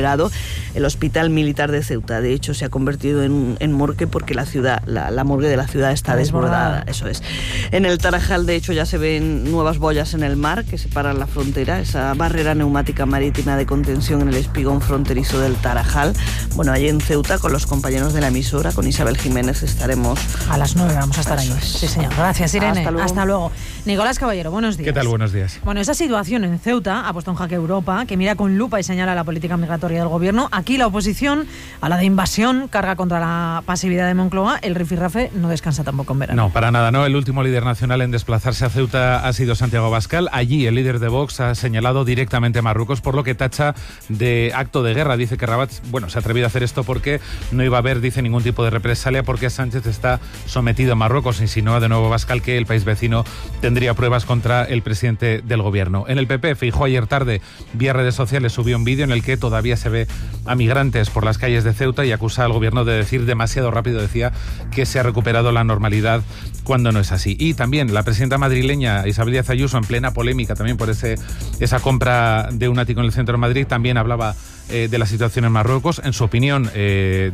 recuperado el Hospital Militar de Ceuta. De hecho, se ha convertido en morgue porque la morgue de la ciudad está desbordada. Eso es. En el Tarajal, de hecho, ya se ven nuevas boyas en el mar que separan la frontera, esa barrera neumática marítima de contención en el espigón fronterizo del Tarajal. Bueno, allí en Ceuta, con los compañeros de la emisora, con Isabel Jiménez, estaremos... A las 9 vamos a estar ahí. Sí, señor. Gracias, Irene. Hasta luego. Nicolás Caballero, buenos días. ¿Qué tal? Buenos días. Bueno, esa situación en Ceuta ha puesto en jaque Europa, que mira con lupa y señala la política migratoria del gobierno. Aquí la oposición a la de invasión carga contra la pasividad de Moncloa. El rifirrafe no descansa tampoco en verano. No, para nada, no. El último líder nacional en desplazarse a Ceuta ha sido Santiago Abascal. Allí el líder de Vox ha señalado directamente a Marruecos, por lo que tacha de acto de guerra. Dice que Rabat, se ha atrevido a hacer esto porque no iba a haber, dice, ningún tipo de represalia porque Sánchez está sometido a Marruecos. Insinúa de nuevo Abascal que el país vecino tendría pruebas contra el presidente del gobierno. En el PP, Feijóo ayer tarde, vía redes sociales, subió un vídeo en el que todavía se ve a migrantes por las calles de Ceuta y acusa al gobierno de decir demasiado rápido, decía, que se ha recuperado la normalidad cuando no es así. Y también la presidenta madrileña Isabel Díaz Ayuso, en plena polémica también por esa compra de un ático en el centro de Madrid, también hablaba de la situación en Marruecos. En su opinión,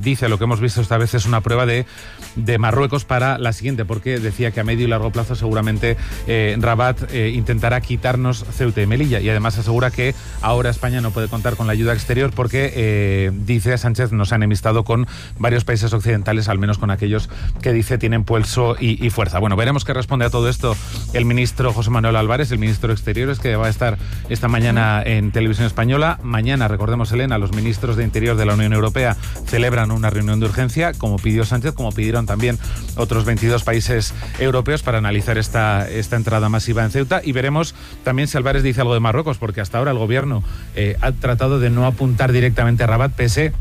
dice, lo que hemos visto esta vez es una prueba de Marruecos para la siguiente, porque decía que a medio y largo plazo seguramente Rabat intentará quitarnos Ceuta y Melilla, y además asegura que ahora España no puede contar con la ayuda exterior porque, dice Sánchez, nos ha enemistado con varios países occidentales, al menos con aquellos que dice tienen pulso y fuerza. Bueno, veremos qué responde a todo esto el ministro José Manuel Álvarez, el ministro de Exteriores, que va a estar esta mañana en Televisión Española. Mañana, recordemos, Elena, los ministros de Interior de la Unión Europea celebran una reunión de urgencia, como pidió Sánchez, como pidieron también otros 22 países europeos, para analizar esta entrada masiva en Ceuta, y veremos también si Álvarez dice algo de Marruecos, porque hasta ahora el gobierno ha tratado de no apuntar directamente a Rabat, pese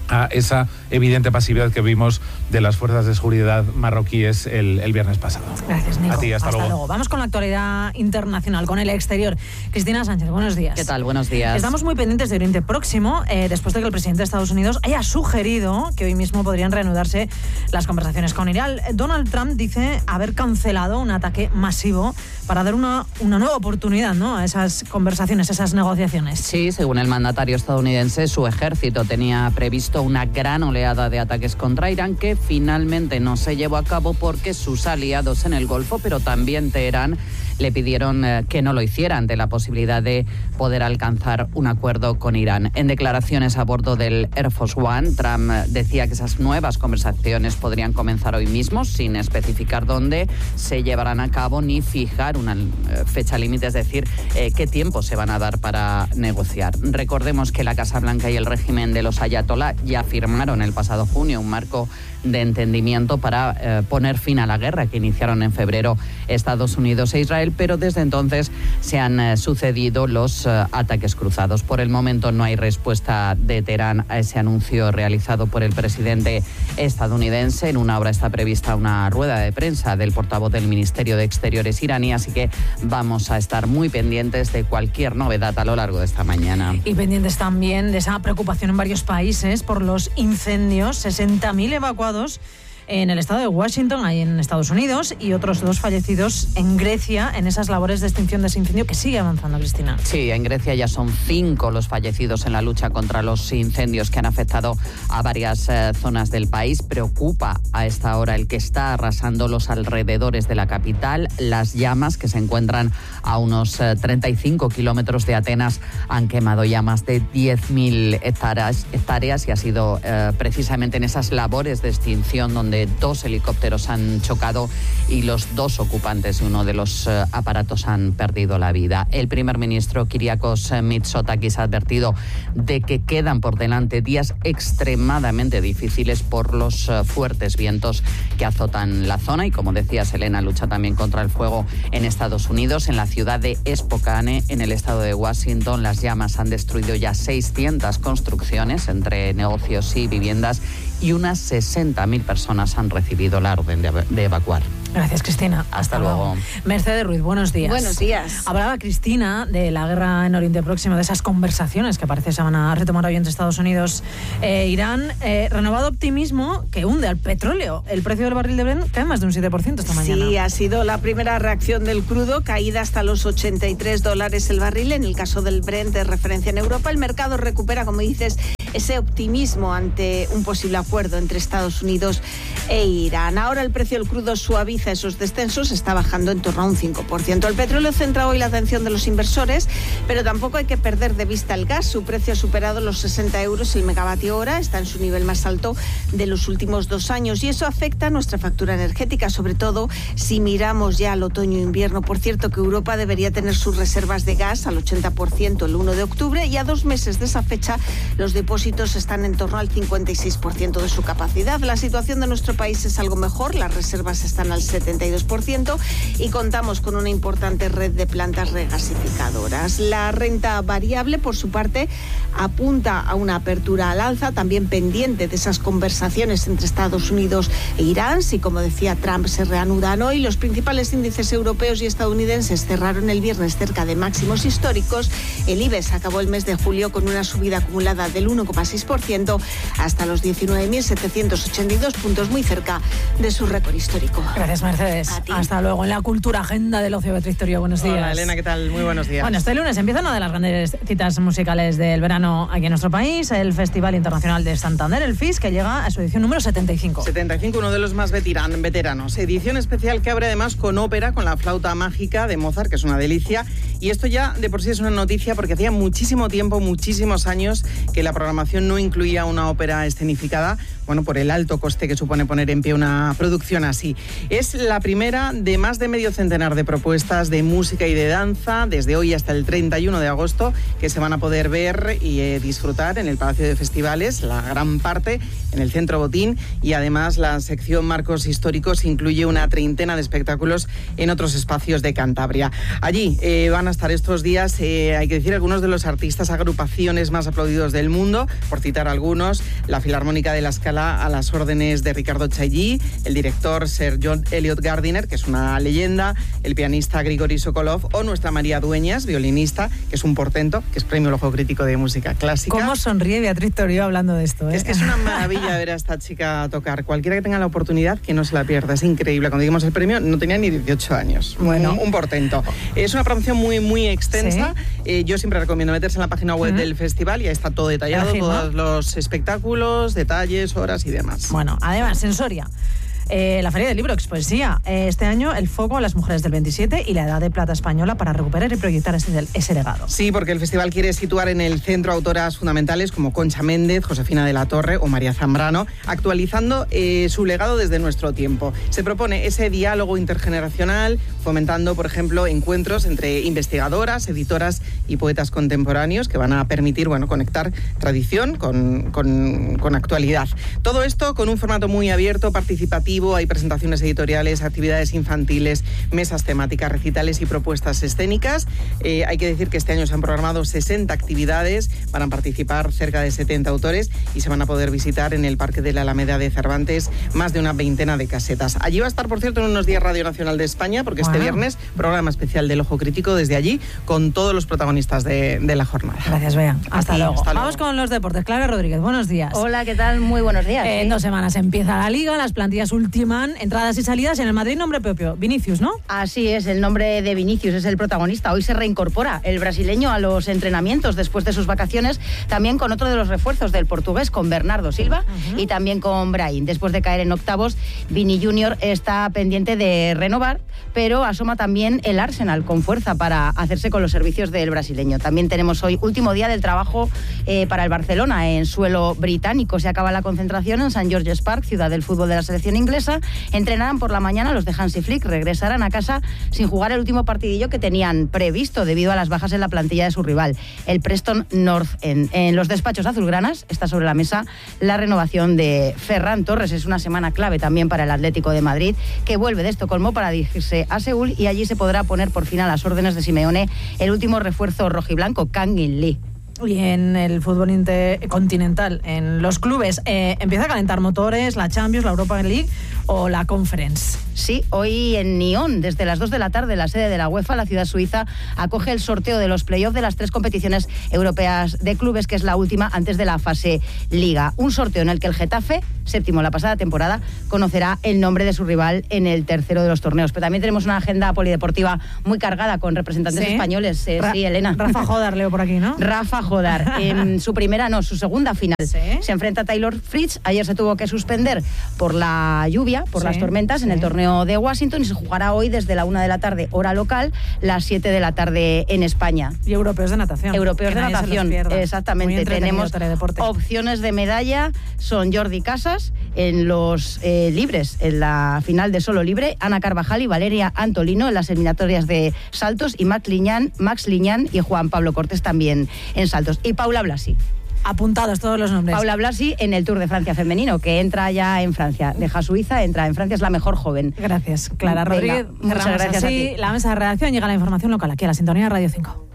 a esa evidente pasividad que vimos de las fuerzas de seguridad marroquíes el viernes pasado. Gracias, Nico. A ti, hasta luego. Vamos con la actualidad internacional, con el exterior. Cristina Sánchez, buenos días. ¿Qué tal? Buenos días. Estamos muy pendientes de Oriente Próximo, después de que el presidente de Estados Unidos haya sugerido que hoy mismo podrían reanudarse las conversaciones con Irán. Donald Trump dice haber cancelado un ataque masivo para dar una nueva oportunidad, ¿no?, a esas conversaciones, esas negociaciones. Sí, según el mandatario estadounidense, su ejército tenía previsto una gran oleada de ataques contra Irán que finalmente no se llevó a cabo porque sus aliados en el Golfo, pero también Teherán, le pidieron que no lo hiciera ante la posibilidad de poder alcanzar un acuerdo con Irán. En declaraciones a bordo del Air Force One, Trump decía que esas nuevas conversaciones podrían comenzar hoy mismo, sin especificar dónde se llevarán a cabo ni fijar una fecha límite, es decir, qué tiempo se van a dar para negociar. Recordemos que la Casa Blanca y el régimen de los ayatolá ya firmaron el pasado junio un marco de entendimiento para poner fin a la guerra que iniciaron en febrero Estados Unidos e Israel, pero desde entonces se han sucedido los ataques cruzados. Por el momento no hay respuesta de Teherán a ese anuncio realizado por el presidente estadounidense. En una hora está prevista una rueda de prensa del portavoz del Ministerio de Exteriores iraní, así que vamos a estar muy pendientes de cualquier novedad a lo largo de esta mañana. Y pendientes también de esa preocupación en varios países por los incendios. 60.000 evacuados en el estado de Washington, ahí en Estados Unidos, y otros 2 fallecidos en Grecia en esas labores de extinción de ese incendio que sigue avanzando, Cristina. Sí, en Grecia ya son 5 los fallecidos en la lucha contra los incendios que han afectado a varias zonas del país. Preocupa a esta hora el que está arrasando los alrededores de la capital. Las llamas, que se encuentran a unos 35 kilómetros de Atenas, han quemado ya más de 10.000 hectáreas y ha sido precisamente en esas labores de extinción donde 2 helicópteros han chocado y los 2 ocupantes de uno de los aparatos han perdido la vida. El primer ministro Kyriakos Mitsotakis ha advertido de que quedan por delante días extremadamente difíciles por los fuertes vientos que azotan la zona y, como decía Selena, lucha también contra el fuego en Estados Unidos. En la ciudad de Spokane, en el estado de Washington, las llamas han destruido ya 600 construcciones entre negocios y viviendas y unas 60.000 personas han recibido la orden de evacuar. Gracias, Cristina. Hasta luego. Mercedes Ruiz, buenos días. Buenos días. Hablaba Cristina de la guerra en Oriente Próximo, de esas conversaciones que parece se van a retomar hoy entre Estados Unidos e Irán. Renovado optimismo que hunde al petróleo. El precio del barril de Brent cae más de un 7% esta mañana. Sí, ha sido la primera reacción del crudo, caída hasta los $83 el barril. En el caso del Brent de referencia en Europa, el mercado recupera, como dices, ese optimismo ante un posible acuerdo entre Estados Unidos e Irán. Ahora el precio del crudo suaviza esos descensos, está bajando en torno a un 5%. El petróleo centra hoy la atención de los inversores, pero tampoco hay que perder de vista el gas. Su precio ha superado los 60 euros el megavatio hora, está en su nivel más alto de los últimos 2 años y eso afecta a nuestra factura energética, sobre todo si miramos ya al otoño-invierno. Por cierto, que Europa debería tener sus reservas de gas al 80% el 1 de octubre y a 2 meses de esa fecha los depósitos están en torno al 56% de su capacidad. La situación de nuestro país es algo mejor, las reservas están al 72% y contamos con una importante red de plantas regasificadoras. La renta variable, por su parte, apunta a una apertura al alza, también pendiente de esas conversaciones entre Estados Unidos e Irán. Si, como decía Trump, se reanudan hoy, los principales índices europeos y estadounidenses cerraron el viernes cerca de máximos históricos. El IBEX acabó el mes de julio con una subida acumulada del 1,6% hasta los 19.782 puntos, muy cerca de su récord histórico. Gracias, Mercedes. Hasta luego. En la cultura agenda del ocio, Beatriz Torío, buenos días. Hola, Elena, ¿qué tal? Muy buenos días. Bueno, este lunes empieza una de las grandes citas musicales del verano aquí en nuestro país, el Festival Internacional de Santander, el FIS, que llega a su edición número 75. 75, uno de los más veteranos. Edición especial que abre además con ópera, con la flauta mágica de Mozart, que es una delicia. Y esto ya de por sí es una noticia porque hacía muchísimo tiempo, muchísimos años, que la programación no incluía una ópera escenificada, bueno, por el alto coste que supone poner en pie una producción así. Es la primera de más de medio centenar de propuestas de música y de danza, desde hoy hasta el 31 de agosto, que se van a poder ver y disfrutar en el Palacio de Festivales, la gran parte en el Centro Botín, y además la sección Marcos Históricos incluye una treintena de espectáculos en otros espacios de Cantabria. Allí van a estar estos días, hay que decir, algunos de los artistas, agrupaciones más aplaudidos del mundo, por citar algunos: la Filarmónica de la Scala a las órdenes de Ricardo Chailly, el director Sir John Eliot Gardiner, que es una leyenda, el pianista Grigori Sokolov o nuestra María Dueñas, violinista, que es un portento, que es premio Ojo Crítico de música clásica. ¿Cómo sonríe Beatriz Torío hablando de esto? Es que es una maravilla ver a esta chica tocar. Cualquiera que tenga la oportunidad, que no se la pierda. Es increíble. Cuando dimos el premio no tenía ni 18 años. Bueno, un portento. Es una programación muy, muy extensa. ¿Sí? Yo siempre recomiendo meterse en la página web del festival y ahí está todo detallado, todos los espectáculos, detalles, horas y demás. Bueno, además, en Soria, la Feria del Libro Expoesía. Este año el foco a las mujeres del 27 y la Edad de Plata española para recuperar y proyectar ese legado. Sí, porque el festival quiere situar en el centro autoras fundamentales como Concha Méndez, Josefina de la Torre o María Zambrano, actualizando su legado desde nuestro tiempo. Se propone ese diálogo intergeneracional, fomentando, por ejemplo, encuentros entre investigadoras, editoras y poetas contemporáneos que van a permitir, bueno, conectar tradición con actualidad. Todo esto con un formato muy abierto, participativo. Hay presentaciones editoriales, actividades infantiles, mesas temáticas, recitales y propuestas escénicas. Hay que decir que este año se han programado 60 actividades, van a participar cerca de 70 autores y se van a poder visitar en el Parque de la Alameda de Cervantes más de una veintena de casetas. Allí va a estar, por cierto, en unos días Radio Nacional de España, porque este viernes, programa especial del Ojo Crítico desde allí, con todos los protagonistas de la jornada. Gracias, Bea. Hasta luego. Vamos con los deportes. Clara Rodríguez, buenos días. Hola, ¿qué tal? Muy buenos días. En 2 semanas empieza la Liga, las plantillas ultiman entradas y salidas. En el Madrid, nombre propio, Vinicius, ¿no? Así es, el nombre de Vinicius es el protagonista. Hoy se reincorpora el brasileño a los entrenamientos después de sus vacaciones, también con otro de los refuerzos del portugués, con Bernardo Silva y también con Brahim. Después de caer en octavos, Vini Junior está pendiente de renovar, pero asoma también el Arsenal con fuerza para hacerse con los servicios del brasileño. También tenemos hoy último día del trabajo para el Barcelona en suelo británico. Se acaba la concentración en St. George's Park, ciudad del fútbol de la selección inglesa. Entrenarán por la mañana los de Hansi Flick, regresarán a casa sin jugar el último partidillo que tenían previsto debido a las bajas en la plantilla de su rival, el Preston North End. En los despachos azulgranas está sobre la mesa la renovación de Ferran Torres. Es una semana clave también para el Atlético de Madrid, que vuelve de Estocolmo para dirigirse a Seúl y allí se podrá poner por fin a las órdenes de Simeone el último refuerzo rojiblanco, Kang In Lee. Y en el fútbol continental, en los clubes, empieza a calentar motores, la Champions, la Europa League. o la Conference. Sí, hoy en Nyon, desde las 2 de la tarde, la sede de la UEFA, la ciudad suiza, acoge el sorteo de los playoffs de las 3 competiciones europeas de clubes, que es la última antes de la fase Liga. Un sorteo en el que el Getafe, séptimo la pasada temporada, conocerá el nombre de su rival en el tercero de los torneos. Pero también tenemos una agenda polideportiva muy cargada con representantes españoles. Sí, Elena. Rafa Jodar, leo por aquí, ¿no? Rafa Jodar. En su segunda final. ¿Sí? Se enfrenta a Taylor Fritz. Ayer se tuvo que suspender por la lluvia, por las tormentas en el torneo de Washington, y se jugará hoy desde la 1 de la tarde, hora local, las 7 de la tarde en España. Y europeos de natación. Europeos de natación, exactamente. Tenemos opciones de medalla, son Jordi Casas en los libres, en la final de solo libre, Ana Carvajal y Valeria Antolino en las eliminatorias de saltos, y Max Liñán y Juan Pablo Cortés también en saltos. Y Paula Blasi. Apuntados todos los nombres. Paula Blasi en el Tour de Francia femenino, que entra ya en Francia. Deja Suiza, entra en Francia, es la mejor joven. Gracias, Clara Rodríguez. Muchas gracias a ti. La mesa de redacción, llega la información local aquí a la sintonía de Radio 5.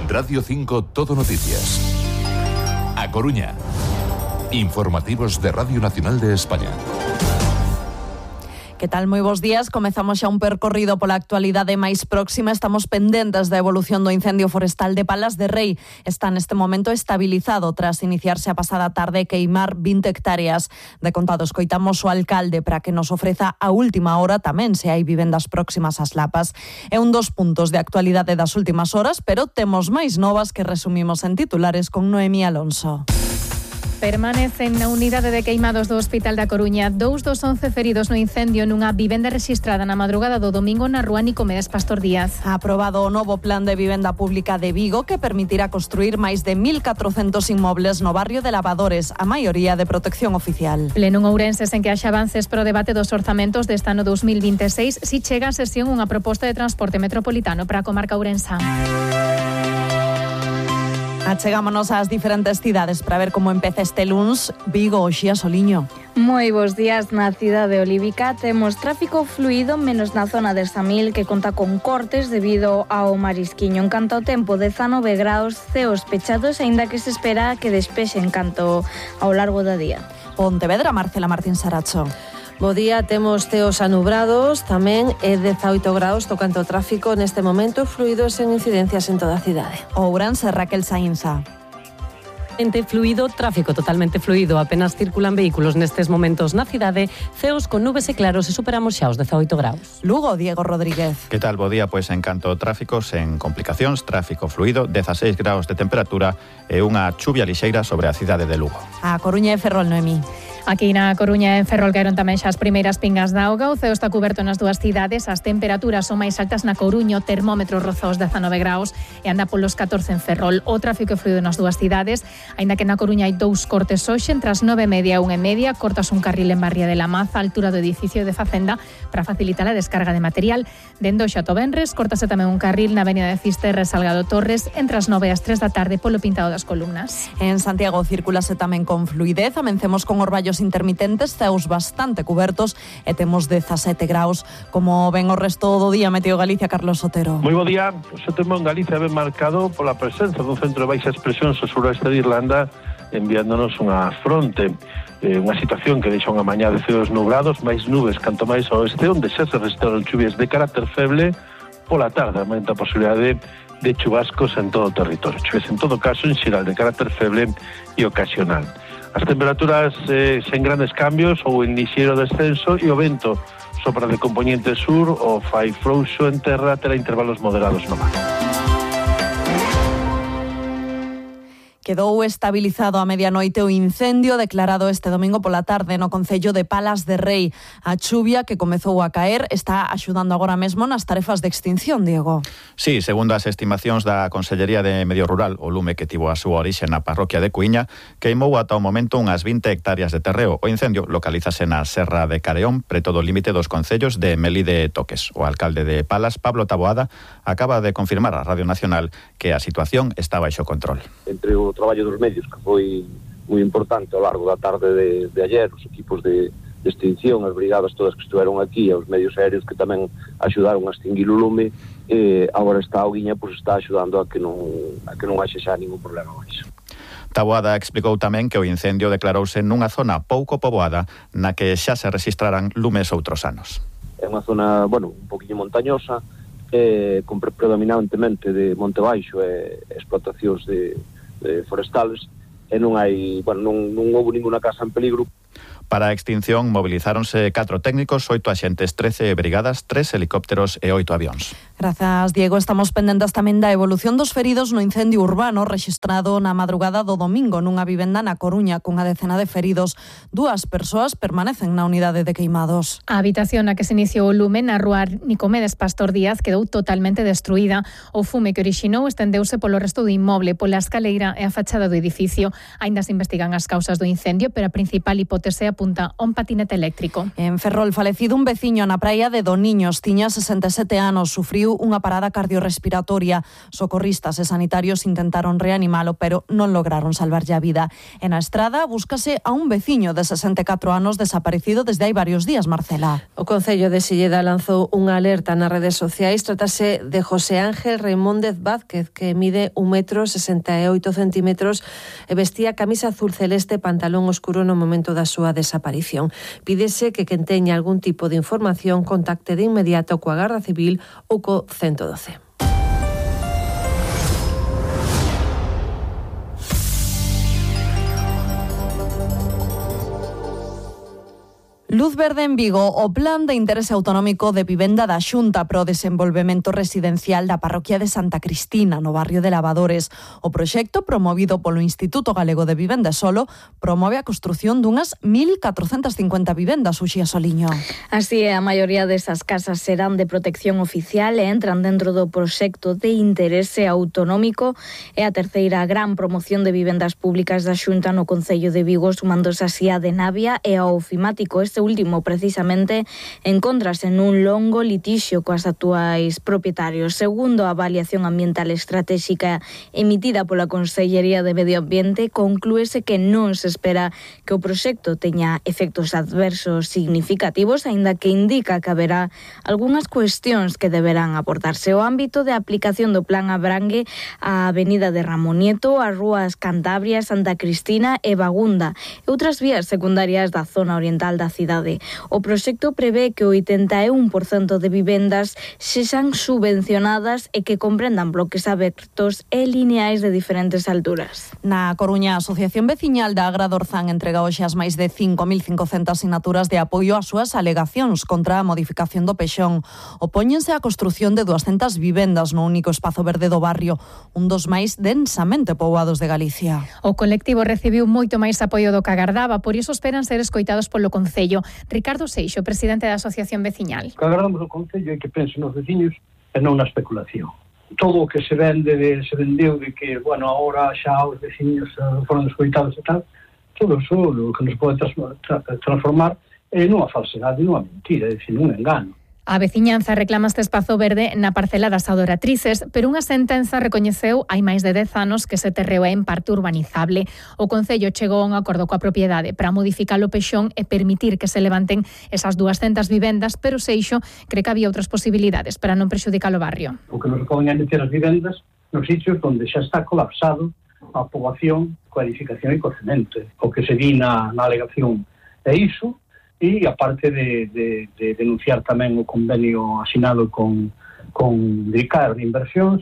Radio 5 Todo Noticias. A Coruña. Informativos de Radio Nacional de España. Que tal? Moi bons días. Comezamos xa un percorrido pola actualidade máis próxima. Estamos pendentes da evolución do incendio forestal de Palas de Rei. Está neste momento estabilizado tras iniciarse a pasada tarde queimar 20 hectáreas. De contado, escoitamos o alcalde para que nos ofreza a última hora tamén se hai vivendas próximas ás lapas. É un dos puntos de actualidade das últimas horas, pero temos máis novas que resumimos en titulares con Noemí Alonso. Permanecen na unidade de queimados do Hospital da Coruña 2 dos 11 feridos no incendio nunha vivenda rexistrada na madrugada do domingo na rúa Nicomedes Pastor Díaz. Ha aprobado o novo plan de vivenda pública de Vigo que permitirá construir máis de 1.400 inmobles no barrio de Lavadores, a maioría de protección oficial. Pleno en Ourense sen que haxa avances pro debate dos orzamentos deste ano 2026, si chega a sesión unha proposta de transporte metropolitano para a comarca ourensa. Achegámonos ás diferentes cidades para ver como empeza este luns. Vigo, Oxía Soliño. Moi bons días na cidade olívica. Temos tráfico fluido menos na zona de Samil, que conta con cortes debido ao marisquiño. En canto ao tempo, 19 graus, ceos pechados, aínda que se espera que despexe en canto ao largo do día. Pontevedra, Marcela Martín Saracho. Bo día, temos ceos anubrados, tamén é 18 graus tocante ao tráfico neste momento, fluidos en incidencias en toda a cidade. Ourense, Raquel Sainza. Fluido, tráfico totalmente fluido, apenas circulan vehículos nestes momentos na cidade, ceos con nubes e claros e superamos xa os 18 graus. Lugo, Diego Rodríguez. Que tal, bo día? Pois en canto ao tráfico, sen complicacións, tráfico fluido, 16 graus de temperatura e unha chuvia lixeira sobre a cidade de Lugo. A Coruña e Ferrol, Noemí. Aquí na Coruña e en Ferrol caeron tamén xa as primeiras pingas de auga. O ceo está coberto nas dúas cidades. As temperaturas son máis altas na Coruña, o termómetro roza os 19 graus e anda polos 14 en Ferrol. O tráfico é fluido nas dúas cidades, aínda que na Coruña hai 2 cortes hoxe, entre as 9:30 e 1:30, cortas un carril en Barria de la Maza, altura do edificio de Facenda, para facilitar a descarga de material. Dende hoxe ata o venres, cortase tamén un carril na avenida de Fisterra Salgado Torres, entre as 9 e as 3 da tarde, polo pintado das columnas. En Santiago circulase tamén con fluidez. Amencemos con orballos intermitentes, ceos bastante cubertos e temos 17 graus. Como ven o resto do día, Meteo Galicia, Carlos Sotero. Moi bo día. O tempo en Galicia ben marcado pola presenza dun centro de baixas presións ao suroeste de Irlanda, enviándonos unha fronte, unha situación que deixa unha mañá de ceos nublados, máis nubes canto máis ao oeste, onde xa se restauran chuvias de carácter feble. Pola tarde aumenta a posibilidade de chubascos en todo o territorio. Chuvias en todo caso en xeral de carácter feble e ocasional. As temperaturas sen grandes cambios ou en lixeiro descenso, e o vento sopra de componente sur, o fai frouxo en terra, terá intervalos moderados no mar. Quedou estabilizado a medianoite o incendio declarado este domingo pola tarde no concello de Palas de Rei. A chuvia que comezou a caer está axudando agora mesmo nas tarefas de extinción, Diego. Sí, segundo as estimacións da Consellería de Medio Rural, o lume que tivo a súa orixe na parroquia de Cuíña queimou ata o momento unhas 20 hectáreas de terreo. O incendio localízase na Serra de Careón, preto do límite dos concellos de Melide e Toques. O alcalde de Palas, Pablo Taboada, acaba de confirmar a Radio Nacional que a situación está baixo control. Entre o traballo dos medios, que foi moi importante ao largo da tarde de ayer, os equipos de extinción, as brigadas todas que estiveron aquí, e os medios aéreos que tamén axudaron a extinguir o lume, agora está a auguiña, pois está axudando a que non haxe xa ningún problema máis. Taboada explicou tamén que o incendio declarouse nunha zona pouco poboada na que xa se registraran lumes outros anos. É unha zona, un poquinho montañosa, con predominantemente de monte baixo e explotacións de forestales, e non hai, non houve ninguna casa en peligro. Para a extinción movilizáronse 4 técnicos, 8 axentes, 13 brigadas, 3 helicópteros e 8 avións. Grazas, Diego. Estamos pendentes tamén da evolución dos feridos no incendio urbano rexistrado na madrugada do domingo nunha vivenda na Coruña cunha decena de feridos. 2 persoas permanecen na unidade de queimados. A habitación na que se iniciou o lume na rúa Nicomedes Pastor Díaz quedou totalmente destruída. O fume que orixinou estendeuse polo resto do inmoble, pola escaleira e a fachada do edificio. Aínda se investigan as causas do incendio, pero a principal hipótese apunta a un patinete eléctrico. En Ferrol, falecido un veciño na praia de Doniños, tiña 67 anos, sufriu unha parada cardiorrespiratoria. Socorristas e sanitarios intentaron reanimalo, pero non lograron salvarlle a vida. En a estrada búscase a un veciño de 64 anos desaparecido desde hai varios días, Marcela. O Concello de Silleda lanzou unha alerta nas redes sociais. Trátase de José Ángel Reimóndez Vázquez, que mide 1,68 m e vestía camisa azul celeste e pantalón oscuro no momento da súa desaparición. Pídese que quen teña algún tipo de información contacte de inmediato coa Garda Civil ou co 112. Luz verde en Vigo, o Plan de Interese Autonómico de Vivenda da Xunta para o Desenvolvemento Residencial da parroquia de Santa Cristina, no barrio de Lavadores. O proxecto, promovido polo Instituto Galego de Vivenda e Solo, promove a construción dunhas 1.450 vivendas, Uxía Soliño. Así é, a maioría desas casas serán de protección oficial e entran dentro do proxecto de interese autonómico. É a terceira gran promoción de vivendas públicas da Xunta no Concello de Vigo, sumándose así a de Navia e ao Ofimático. Este último, precisamente, encóntrase nun longo litixio coas actuais propietarios. Segundo a avaliación ambiental estratégica emitida pola Consellería de Medio Ambiente, conclúese que non se espera que o proxecto teña efectos adversos significativos, aínda que indica que haberá algunhas cuestións que deberán aportarse. O ámbito de aplicación do plan abrangue a Avenida de Ramón Nieto, as rúas Cantabria, Santa Cristina e Bagunda e outras vías secundarias da zona oriental da cidade. O proxecto prevé que o 81% de vivendas sexan subvencionadas e que comprendan bloques abertos e lineais de diferentes alturas. Na Coruña, a Asociación Veciñal da Agra Dorzán entrega hoxe as máis de 5.500 sinaturas de apoio ás súas alegacións contra a modificación do Pexón. Opóñense á construción de 200 vivendas no único espazo verde do barrio, un dos máis densamente poboados de Galicia. O colectivo recibiu moito máis apoio do que agardaba, por iso esperan ser escoitados polo Concello. Ricardo Seixo, presidente da Asociación Veciñal. O que agardamos do Concello é que pensen nos veciños e non na especulación. Todo o que se vendeu de que, agora xa os veciños foron escoitados e tal, todo iso o que nos pode transformar en unha falsedade, nunha mentira, é dicir, nun engano. A veciñanza reclama este espazo verde na parcela das adoratrices, pero unha sentenza recoñeceu hai máis de 10 anos que ese terreo é en parte urbanizable. O Concello chegou a un acordo coa propiedade para modificar o Pexón e permitir que se levanten esas 200 vivendas, pero Seixo cree que había outras posibilidades para non prexudicar o barrio. O que nos poden é meter as vivendas nos sitios onde xa está colapsado a poboación coa edificación e co cemento. O que se di na alegación é iso. E aparte de denunciar tamén o convenio asinado con DICAR de inversións,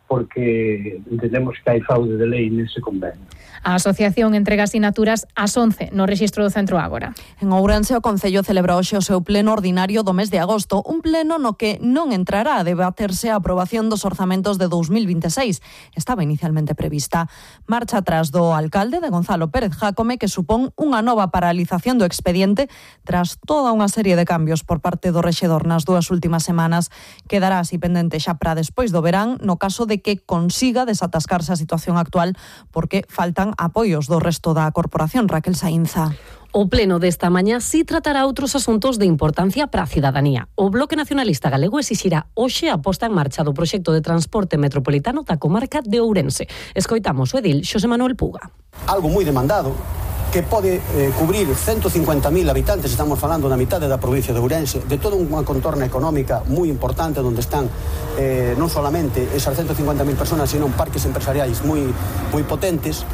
porque entendemos que hai fraude de lei nese convenio. A asociación entrega asinaturas ás 11 no rexistro do Centro Ágora. En Ourense, o Concello celebra hoxe o seu pleno ordinario do mes de agosto, un pleno no que non entrará a debaterse a aprobación dos orzamentos de 2026. Estaba inicialmente prevista. Marcha atrás do alcalde de Gonzalo Pérez Jácome, que supón unha nova paralización do expediente tras toda unha serie de cambios por parte do rexedor nas 2 últimas semanas. Quedará así pendente xa para despois do verán, no caso de que consiga desatascarse a situación actual, porque faltan apoios do resto da corporación. Raquel Saínza. O pleno desta mañá si tratará outros asuntos de importancia para a cidadanía. O Bloque Nacionalista Galego exixirá hoxe a posta en marcha do proxecto de transporte metropolitano da comarca de Ourense. Escoitamos o edil Xosé Manuel Puga. Algo moi demandado, que pode cubrir 150.000 habitantes, estamos falando da mitade da provincia de Ourense, de toda unha contorna económica moi importante, onde están non solamente esas 150.000 personas, sino parques empresariais moi potentes.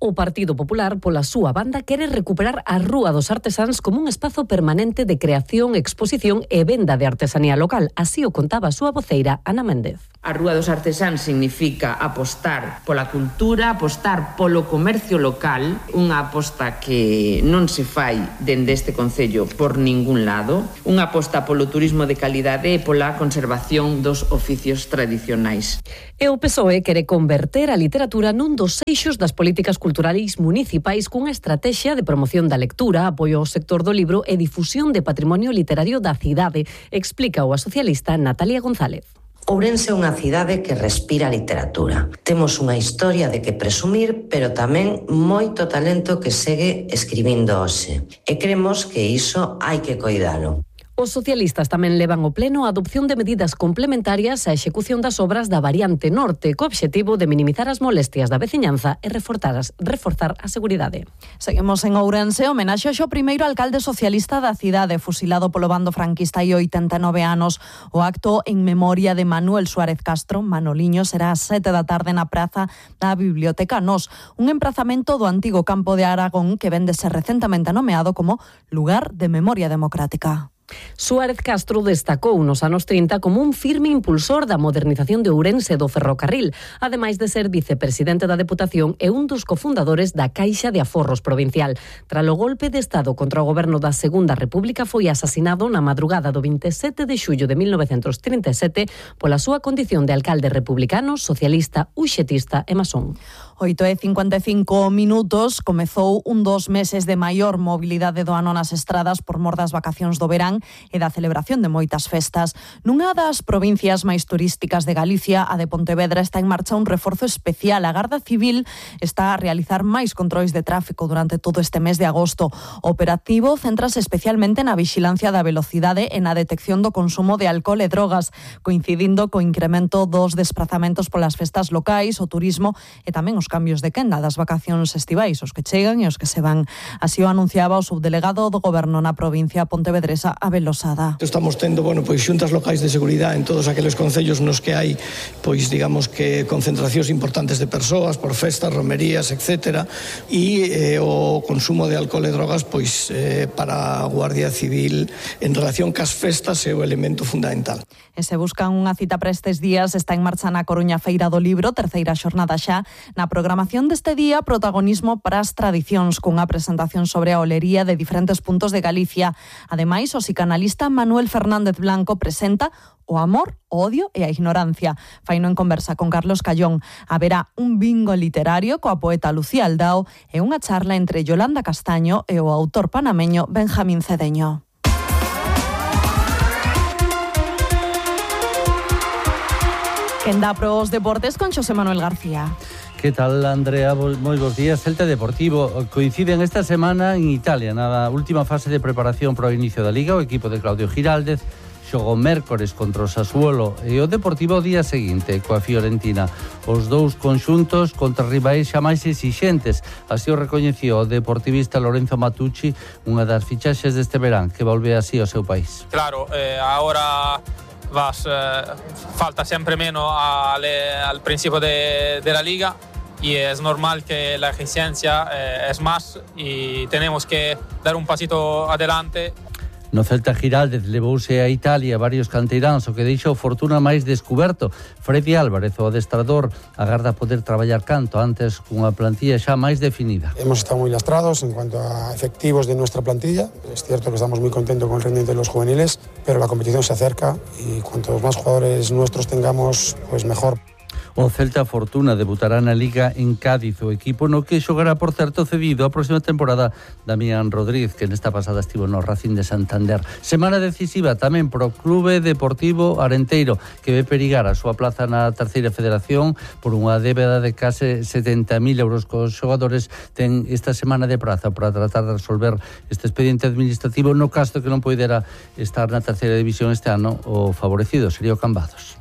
O Partido Popular, pola súa banda, quere recuperar a Rúa dos Artesáns como un espazo permanente de creación, exposición e venda de artesanía local. Así o contaba a súa voceira, Ana Méndez. A Rúa dos Artesáns significa apostar pola cultura, apostar polo comercio local, unha aposta que non se fai dende este concello por ningún lado, unha aposta polo turismo de calidade e pola conservación dos oficios tradicionais. E o PSOE quere converter a literatura nun dos eixos das políticas culturais municipais cunha estrategia de promoción da lectura, apoio ao sector do libro e difusión de patrimonio literario da cidade, explica a socialista Natalia González. Ourense é unha cidade que respira literatura. Temos unha historia de que presumir, pero tamén moito talento que segue escribindo hoxe. E cremos que iso hai que coidalo. Os socialistas tamén levan ao pleno a adopción de medidas complementarias á execución das obras da variante norte, co obxectivo de minimizar as molestias da veciñanza e reforzar a seguridade. Seguimos en Ourense, homenaxe ao primeiro alcalde socialista da cidade, fusilado polo bando franquista hai 89 anos. O acto en memoria de Manuel Suárez Castro, Manoliño, será ás 7 da tarde na praza da Biblioteca Nos, un emprazamento do antigo campo de Aragón que vén de ser recentemente nomeado como lugar de memoria democrática. Suárez Castro destacou nos anos 30 como un firme impulsor da modernización de Ourense do ferrocarril, ademais de ser vicepresidente da Deputación e un dos cofundadores da Caixa de Aforros Provincial. Tras o golpe de Estado contra o goberno da Segunda República, foi asasinado na madrugada do 27 de xullo de 1937 pola súa condición de alcalde republicano, socialista, uxetista e masón. 8:55 comezou un dos meses de maior mobilidade do ano nas estradas por mor das vacacións do verán e da celebración de moitas festas. Nunha das provincias máis turísticas de Galicia, a de Pontevedra, está en marcha un reforzo especial. A Garda Civil está a realizar máis controis de tráfico durante todo este mes de agosto. O operativo céntrase especialmente na vixilancia da velocidade e na detección do consumo de alcohol e drogas, coincidindo co incremento dos desprazamentos polas festas locais, o turismo e tamén os cambios de quenda das vacacións estivais, os que chegan e os que se van. Así o anunciaba o subdelegado do Goberno na provincia pontevedresa, Abel Losada. Estamos tendo, xuntas locais de seguridade en todos aqueles concellos nos que hai, digamos que concentracións importantes de persoas por festas, romerías, etc. E o consumo de alcohol e drogas, para a Guardia Civil en relación cas festas é o elemento fundamental. E se buscan unha cita para estes días, está en marcha na Coruña Feira do Libro, terceira xornada xa. Na programación deste día, protagonismo para as tradicións, cunha presentación sobre a olería de diferentes puntos de Galicia. Ademais, o psicanalista Manuel Fernández Blanco presenta o amor, o odio e a ignorancia. Faino en conversa con Carlos Callón. Haberá un bingo literario coa poeta Lucía Aldao e unha charla entre Yolanda Castaño e o autor panameño Benjamín Cedeño. Quen dá pros deportes con Xosé Manuel García. Que tal, Andrea? Moi bons días. Celta Deportivo coinciden esta semana en Italia, na última fase de preparación para o inicio da Liga. O equipo de Claudio Giraldez xogou mércores contra o Sassuolo e o Deportivo o día seguinte coa Fiorentina. Os dous conxuntos contra rivais xa máis exixentes. Así o recoñeceu o deportivista Lorenzo Matucci, unha das fichaxes deste verán, que volve así ao seu país. Claro, ahora falta siempre menos al principio de la liga y es normal que la exigencia es más y tenemos que dar un pasito adelante. No Celta, Giraldez levouse a Italia varios canteiráns, o que deixou fortuna máis descuberto. Freddy Álvarez, o adestrador, agarda poder traballar canto antes cunha plantilla xa máis definida. Hemos estado muy lastrados en cuanto a efectivos de nuestra plantilla. Es cierto que estamos muy contentos con el rendimiento de los juveniles, pero la competición se acerca y cuantos más jugadores nuestros tengamos, pues mejor. O Celta Fortuna debutará na Liga en Cádiz, o equipo no que xogará, por certo, cedido a próxima temporada Damián Rodríguez, que nesta pasada estivo no Racing de Santander. Semana decisiva tamén pro Clube Deportivo Arenteiro, que ve perigar a súa plaza na terceira federación por unha débeda de case 70.000 euros cos xogadores. Ten esta semana de prazo para tratar de resolver este expediente administrativo, no caso que non poidera estar na terceira división este ano. O favorecido sería o Cambados.